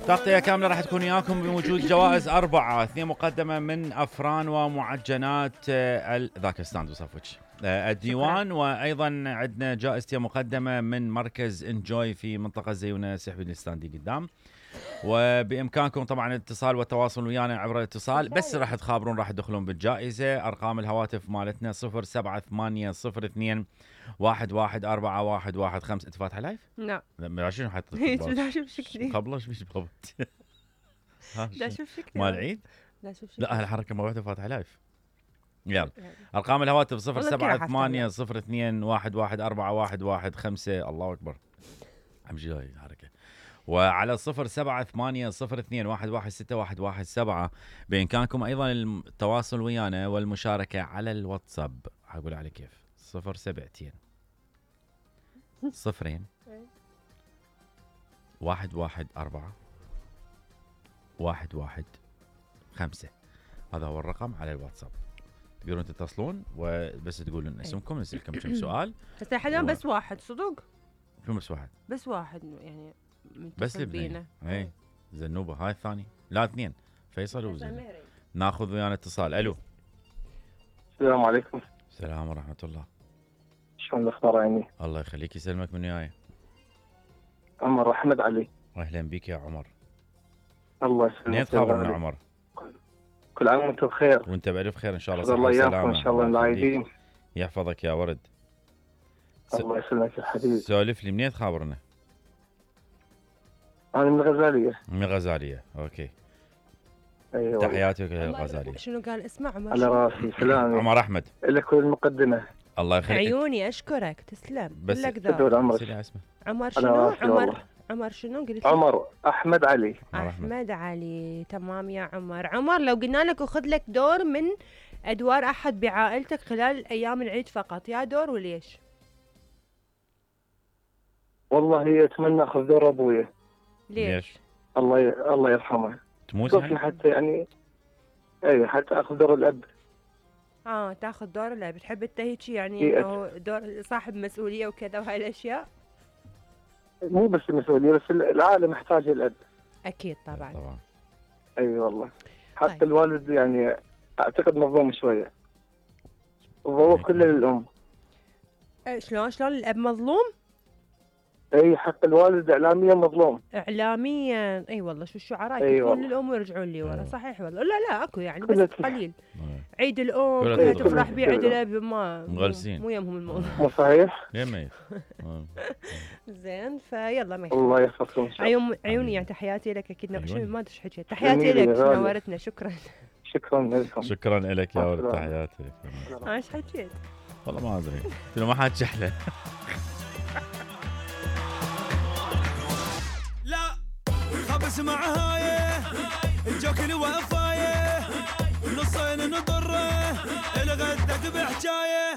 تغطية كاملة راح تكون وياكم بوجود جوائز 4، 2 مقدمة من أفران ومعجنات ذاك ستاند وصفوتش الديوان، وأيضا عندنا جائزة مقدمة من مركز انجوي في منطقة زيونة سحب الستاندي قدام. وبإمكانكم طبعا الاتصال والتواصل ويانا عبر الاتصال، بس راح تخابرون راح تدخلون بالجائزة. أرقام الهواتف مالتنا 07802 114115. أنت فاتحة لايف؟ لا لا شنو حاطط لا شوف شكلي قبله ايش بيش بغبت لا شوف شكلي مال العيد. لا شوف شكلي لا هالحركة ما وحدة فاتحة لايف. يلا أرقام الهواتف 07802 114115. الله أكبر أمشي هاي الحركة. وعلى 07802 116117 بإمكانكم أيضا التواصل ويانا والمشاركة على الواتساب. هقول على كيف 072 0 114 115. هذا هو الرقم على الواتساب، تقدرون تتصلون وبس تقولون اسمكم نسألكم كم سؤال. بس حاليا بس واحد صدق. شو بس واحد؟ بس واحد يعني بس بينا. اي زنوبة هاي الثاني، لا 2 فيصل وزين. ناخذ ويانا اتصال. الو السلام عليكم. السلام ورحمة الله. شلون الاخبار عيني؟ الله يخليك يسلمك. من وياي؟ عمر احمد علي. اهلا بك يا عمر. الله يسلمك. منين تخابرنا عمر؟ كل عام وانت بخير. وانت بألف خير ان شاء الله. الله يعافيك ان شاء الله العايدين. يحفظك يا ورد. الله يسلمك يا حبيبي. سولف لي منين تخابرنا؟ انا من الغزالية. من الغزالية. اوكي. ايوه تحياتي للغزالية. شنو قال اسمع عمر؟ على راسي. سلام عمر احمد لك المقدمة. الله يخليك. عيوني اشكرك تسلم. بس دور عمرك. عمر شنو؟ عمر شنو قلت؟ عمر احمد علي. احمد علي. تمام يا عمر. عمر لو قلنا لك وخذ لك دور من ادوار احد بعائلتك خلال ايام العيد فقط، يا دور وليش؟ والله اتمنى اخذ دور ابويا. ليش؟ الله يرحمه. تموت يعني؟ حتى يعني اي حتى اخذ دور الاب. تاخذ دور الاب. بتحب انت هيك يعني انه دور صاحب مسؤوليه وكذا وهاي الاشياء؟ مو بس المسؤوليه، بس العائله محتاجه الاب. اكيد طبعا. اي والله. حتى طيب. الوالد يعني اعتقد مظلوم شويه. وهو كله للام. شلون الاب مظلوم؟ اي حتى الوالد اعلاميا مظلوم. اعلاميا اي والله. شو الشعراء يكون للام ويرجعون لي ورا. صحيح والله. لا اكو يعني بس قليل. عيد الام كلها تفرح به، عيد الاب ما مغلسين مو يمهم الموضوع. مو صحيح؟ يمي زين فيلا ما الله يحفظكم. عيوني يعني تحياتي لك. اكيد شنو ما ادري حكيت. تحياتي لك نورتنا. شكرا لكم. شكرا لك يا ولد. تحياتي لك. ايش حكيت؟ والله ما ادري شنو ما حد شحله. لا خبز مع هايه الجوكل وفايه نصين نضره الغدك بحجايه.